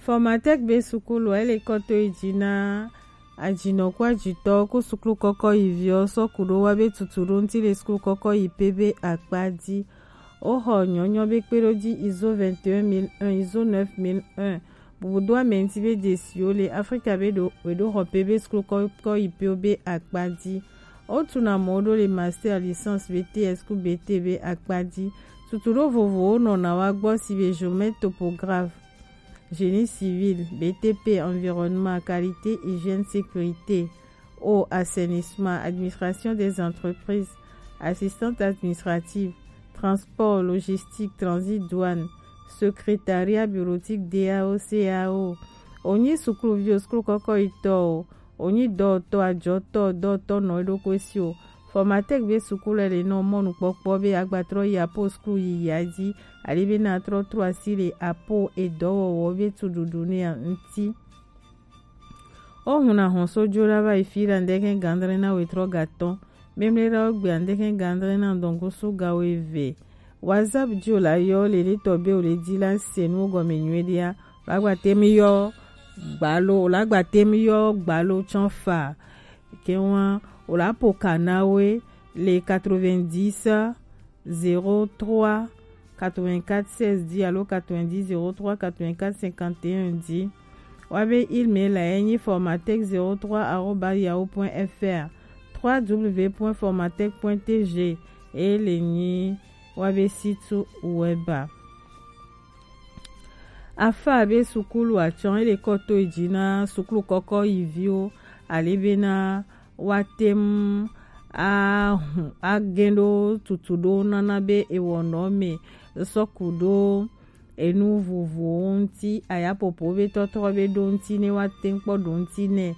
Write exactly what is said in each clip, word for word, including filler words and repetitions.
Formatec be sukulu ele kɔto yi ji na ajinɔ ku ajitɔ ku sukulu kɔkɔ yi viɔ sɔ ku ɖo wa be tutu ɖo ŋuti le sukulu kɔkɔ yi pe be akpa ji. O xɔ nyɔnyɔ be kpe ɖo ji izo vingt et un mille un, izo neuf mille un. Bubu do amɛ ŋuti be jesiwo le Afrika be ɖo we ɖo xɔ pe be sukulu kɔkɔ yi pe be akpa ji. O tu na mɔ ɖo le master, licence, B T S ku B T be akpa ji. Tutu ɖo vovowo nɔ na wa gbɔ si be géomètre topographe, génie civil, B T P, environnement, qualité, hygiène, sécurité, eau, assainissement, administration des entreprises, assistante administrative, transport, logistique, transit, douane, secrétariat bureautique, D A O, C A O. Onyi sukuluvi o, sukulu kɔkɔ yi tɔ o, onyi dɔwɔtɔ, ajɔtɔ, dɔwɔtɔ nɔ eɖokui si o. Formatec be sukulu le nɔ mɔnukpɔkpɔ be agbatrɔ yi apo sukulu yiyi a ji, ali be na trɔ tro asi le apo edɔwɔwɔ be tuɖuɖu ne ŋuti. O hun na hɔn so jo la va yi fi la ŋdɛkɛ gandre na wetrɔ gatɔn. Memle la o gbe ŋdɛkɛ gandre na dɔngusu ga weve. WhatsApp ji o la yɔ le le tɔ be o le di la se nu gɔme nyuie dia. O la gba te mi yɔ gbalo, o la gba te mi yɔ gbalo tsɔn fa. Ke wa o la po kana we le quatre-vingt-dix zéro trois quatre-vingt-quatre seize dix alo quatre-vingt-dix zéro trois quatre-vingt-quatre cinquante et un dix. Wa be email la ye nyi formatec zéro trois arobase yahoo point F R, trois W point formatec point T G, e le nyi wa be site web a. Afa be sukulu atsɔn ele kɔto yi ji na sukulu kɔkɔ yi viwo, ale be na wa tem ahun agɛn ɖo tutu ɖo nana be ewɔnɔ me sɔku ɖo enu vovowo ŋuti, ayapopo be tɔtrɔ be ɖo ŋuti ne wa tem kpɔ ɖo ŋuti nɛ,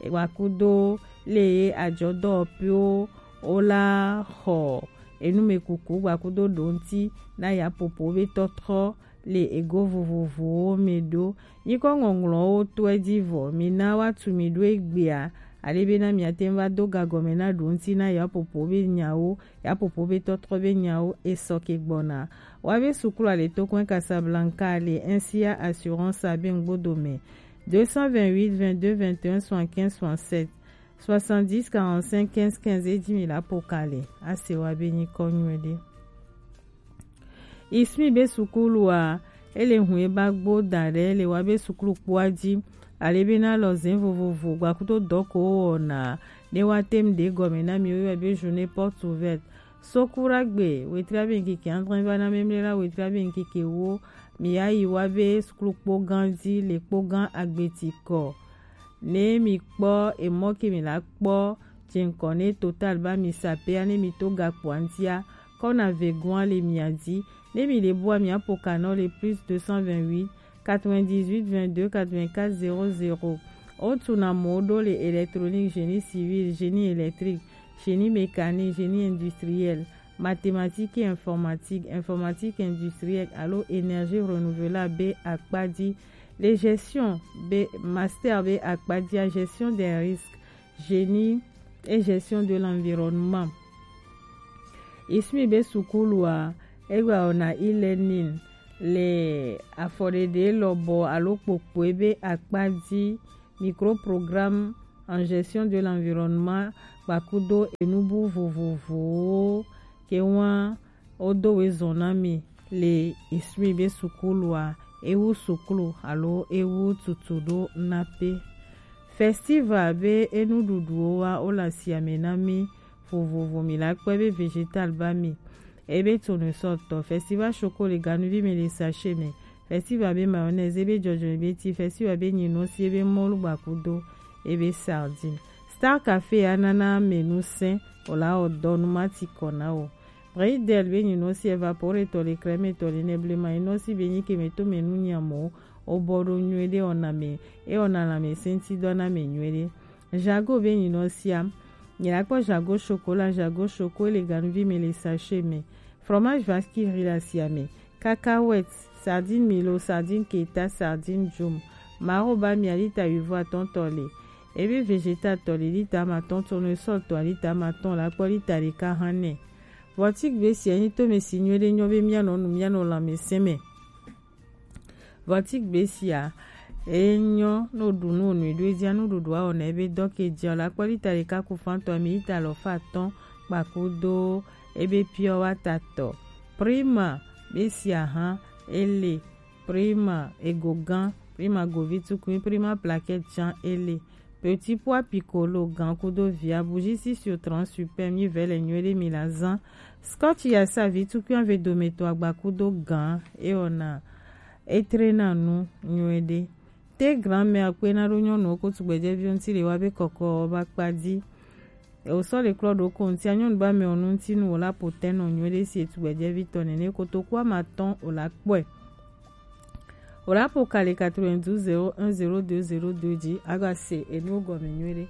gbakudo le ye ajɔdɔwɔƒewo wo la xɔ enumekuku gbakudo ɖo ŋuti na yapopo be tɔtrɔ le ego vovovowo me ɖo. Nyikɔ ŋɔŋlɔwo tɔe ji vɔ, mi na wa tu mi ɖo egbea, ale be na miate ŋu va do gagɔme na ɖo ŋuti na yapopo be nyawo, yapopo be tɔtrɔ be nyawo esɔ ke gbɔna. Wa be sukulu ale to kɔn Casablanca le N C A Assurance abe ŋgbodo me. Deux cent vingt-huit vingt-deux vingt et un soixante-quinze soixante-sept, soixante-dix quarante-cinq quinze quinze e ji mi la po kale. Ase wa be nyikɔ nyuie ɖe. Ismi be sukulu a, ele hun e ba gbo da ɖe le wa be sukulu kpoa ji, ale be na lɔ zɛn vovovo gbakudo dɔ ko wɔna ne wa tem ɖe gɔme na mi wo yɔ be journée porte ouverte. Sokura gbe wetri abe ŋkeke adre va na memle la wetri abe ŋkeke wo, mi ya yi wa be sukulu kpo gan ji le kpo gan agbeti kɔ. Ne mi kpɔ emɔ ke mi la kpɔ, je ŋkɔ ne Total ba mi sapea ne mi to gakpoa ŋutia, kɔ na vegoa le mia di. Ne mi le bua mia po kanɔ le plus deux cent vingt-huit quatre-vingt-dix-huit vingt-deux quatre-vingt-quatre zéro zéro. O tu na mɔ ɖo le électronique, génie civil, génie électrique, génie mécanique, génie industriel, mathématiques et informatique, informatique industrielle alo énergie renouvelable be akpa ji, le gestion be master be akpa ji a gestion des risques, génie et gestion de l'environnement. Ismi be sukulu a, egba wɔna e-learning le afɔɖeɖe lɔbɔ alo kpokpoe be akpa ji, microprogramme en gestion de l'environnement, gbakudo enubu vovovowo ke wa wo do we zɔn na mi le Ismi be sukulu a, ewu sukulu alo ewu tutu ɖo na pe. Festival be enuɖuɖuwo wa wo le asiame na mi vovovo, mi la kpɔe be végétal ba mi, ebe tournesol tɔ, festival choco le ganuvi me le sachet me, festival be mayonnaise, ebe jɔjɔ ebe ti, festival be nyinɔsi, ebe mɔlu gbakudo, ebe sardine. Star Café anana menu sɛn, o la o dɔ nu mati kɔ na o. Bridel be nyinɔsi évaporé tɔ le crème tɔ le ne blema nyinɔsi be nyi ke me to menu nyamo, o bɔ ɖo nyuie ɖe o na me, e o na la me sɛnti dɔ na me nyuie ɖe. Jago be nyinɔsia, nyina kpɔ jago chocolat, jago choco le ganuvi me le sachet me. Fromage vache qui rit la sia me. Cacahuètes, sardine milo, sardine keta, sardine djum. Maro ba mi a lita huit voix ton tɔ le. Ebe végétal tɔ le lita ma ton, tournesol tɔ a lita ma ton la kpɔ lita ɖeka hã nɛ. Vɔtik be sia nyi to me si nyuie ɖe nyɔ be mia nɔ nu mia nɔ la me sɛn me. Vɔtik be sia, Enyo no ɖu nu onu ɖo edzia nuɖuɖu awɔ na ebe dɔ ke dzia la kpɔ lita ɖeka ku fantɔ ami ita lɔ fa atɔ̃ kpakudo ebe piɔ wa tatɔ. Prima be si ahan ele, prima ego gan, prima govi tukui, prima plaquette jan ele. Petit pois piccolo gan kudo via bougie si sur trente super mi vɛ le nyuie ɖe mi la zan. Scotch ya sa vi tukui ave dometɔ agba kudo gan e ona etre na nu nyuie ɖe. Te grand-mère kpena ɖo nyɔnuwo ko tugbedzɛviwo ŋuti le wa be kɔkɔ ba kpa di. Ewosɔ le klɔ ɖo ko ŋutia nyɔnu ba mɛ ɔnu ŋuti nu wòla po tɛnɔ nyuie ɖe si etugbedzɛvi tɔ nene kotoku ama tɔn wòla kpɔe. Wòla po kali quatre-vingt-douze zéro un zéro deux zéro deux dzi aga se enuwo gɔme nyuie ɖe.